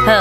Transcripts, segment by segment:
好，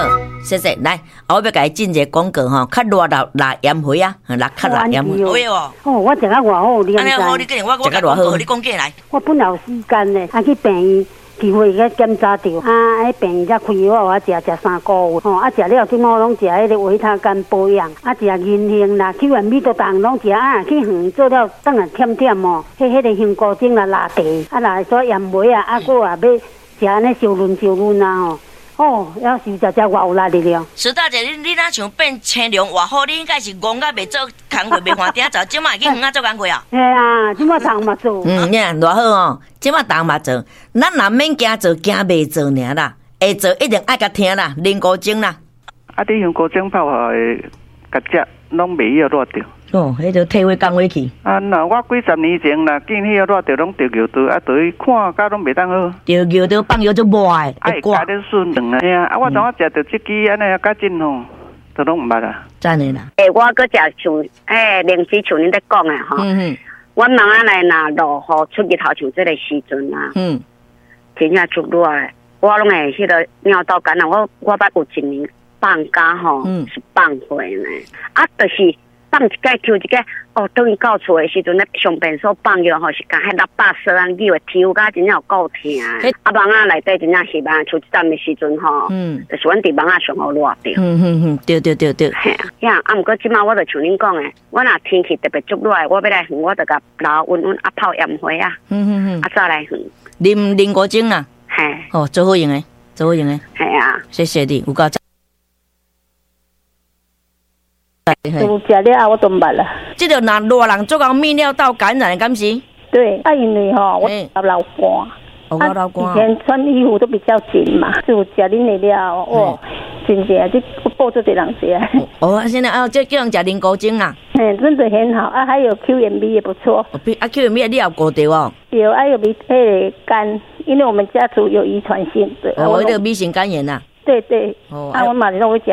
謝謝。來，我欲共伊進一个廣告吼，較熱鬧辣鹽花啊，辣較辣鹽花。有哦。哦，我食甲偌好，你按呢好，你竟然我我食甲偌好你講過來。我本來有時間咧，啊去病院機會去檢查著，啊，彼病院才開藥予我食，食3個月，吼，啊，食了這擺我攏食彼个維他肝保養，啊，食銀杏啦、Q&B 都逐項攏食，啊，去園做了轉來忝忝哦，彼个香菇精啦、辣茶，啊，若煞鹽糜啊，啊，閣也欲食按呢燒潤燒潤啊吼。哦，猶是食食偌有力的了。石大姐，你若像變青龍偌好，你應該是戇甲袂做工課，袂換鼎走，這擺會去園仔做工課啊？嘿啊，這擺逐嘛做。嗯，爾偌好哦，這擺逐嘛做。咱若免驚做，驚袂做爾啦。會做一定愛共聽啦，靈菇精啦。啊，你香菇精泡下會共食，攏袂曉熱著。哦，彼就退火降火去。啊，若我幾十年前若見彼個熱著，攏著尿道，啊，著去看甲攏袂當好。著尿道放藥就熱的，會掛咧順兩啊。嘿啊，啊，我當我食著這支按呢較緊吼，都攏毋捌啊。真的啦。欸，我閣食像欸，靈芝像恁咧講的吼。阮翁仔來若落雨出日頭像這个時陣啊。真正足熱的，我攏會彼个尿道感染。我捌有一年放假吼，是放火呢，啊，就是。放一擺抽一擺，哦，轉去到厝的時陣咧上便所放尿吼，是共彼喇叭聲啊，扭的抽甲真正有夠疼。啊，網仔內底真正翕啊，像這陣的時陣吼，就是阮佇網仔上好熱著。對對對對。嘿啊，啊，毋過這擺我就像恁講的，我若天氣特別足熱的，我欲來園，我就共留溫溫啊泡鹽花啊，啊再來園。啉靈菇精啊？嘿。哦，足好用的，足好用的。嘿啊。謝謝你，有夠讚。有食了後我都毋捌啦。這个若熱人足𠢕泌尿道感染，敢是？對，啊，因為吼，我流汗，哦，我流汗。以前穿衣服都比較緊嘛，就食恁的了哦，真正這我報足濟人食。哦，現在啊，這叫人食靈菇精啊。嘿，真的很好啊，還有 Q&B 也不錯。啊，Q&B 你也有顧著哦？有，還有彼个肝，因為我們家族有遺傳性的。哦，彼个米型肝炎啊。對對，啊，我嘛是攏會食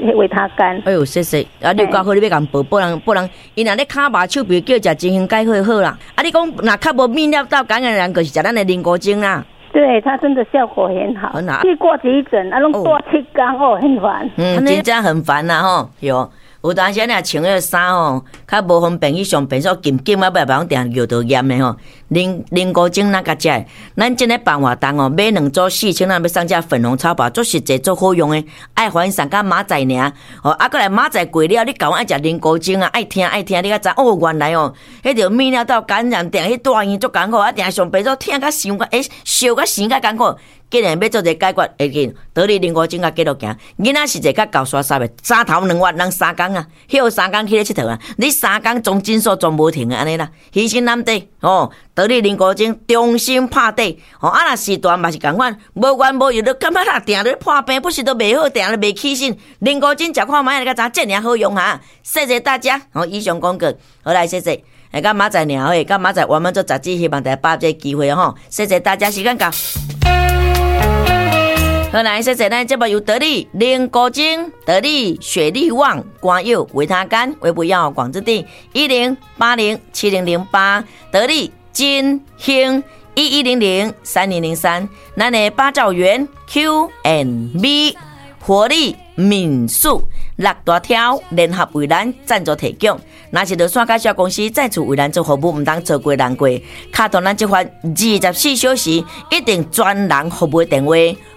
維他肝。哎喲，謝謝。啊，你有夠好，你欲共報報人報人，伊若咧跤肉手臂叫食真興解火好啦。啊，你講若較無泌尿道感染的人，就是食咱的靈菇精啦。對，它真的效果很好。很好。去掛急診，啊，攏掛7工哦，很煩。嗯，真正很煩啦吼，喲。有當時啊，穿彼个衫吼，較無方便去上便所，緊緊啊，欲來攏定尿道炎的吼。靈菇精咱共食的，咱這个辦活動哦，買兩組4000，咱欲送這粉紅草包，足實際足好用的。愛還送佮明仔爾，哦，啊，閣來明仔過了，你共阮愛食靈菇精啊，愛聽愛聽，你才知哦，原來哦，彼著泌尿道感染，定去大醫院足艱苦，啊，定上便所疼甲傷甲，欸，燒甲生甲艱苦。既然欲做一个解決，會緊得你靈菇精共繼續行。囡仔是一个較厚沙沙的，三頭兩月人3工啊，歇3工去咧𨑨迌啊。你3工總診所總無停啊，按呢啦。犧牲難得哦，得你靈菇精忠心拍底哦。啊，若時段嘛是仝款，無緣無由你感覺若定咧破病，不是都袂好，定咧袂起身。靈菇精食看覓，你才知這爾好用哈。謝謝大家，好，以上廣告，好來謝謝。來，佮明仔爾會，佮明仔我們做雜誌，希望大家把握這個機會吼。謝謝大家，時間到。好來，謝謝咱節目由得力靈菇精、得力雪力旺、肝藥、維他肝、微不藥廣之地10807008，得力金興11003003，咱的八兆元 Q&B 活力民宿六大挑聯合為咱贊助提供，若是著線介紹公司再次為咱做服務，毋通錯過人過。敲通咱這番24小時一定專人服務的電話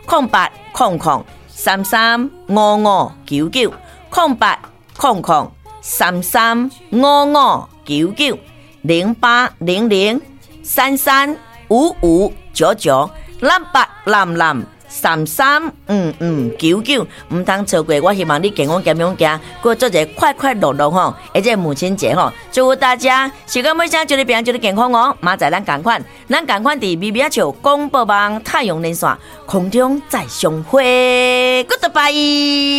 ：0800335599，0800335599，0800335599，0800335599，毋通錯過。我希望你健康健康行，過做一个快快樂樂吼，而且母親節吼，祝福大家。時間尾聲，祝你平安，祝你健康哦。明仔載咱仝款，咱仝款佇微微仔笑廣播網太陽連線空中再相會，Goodbye。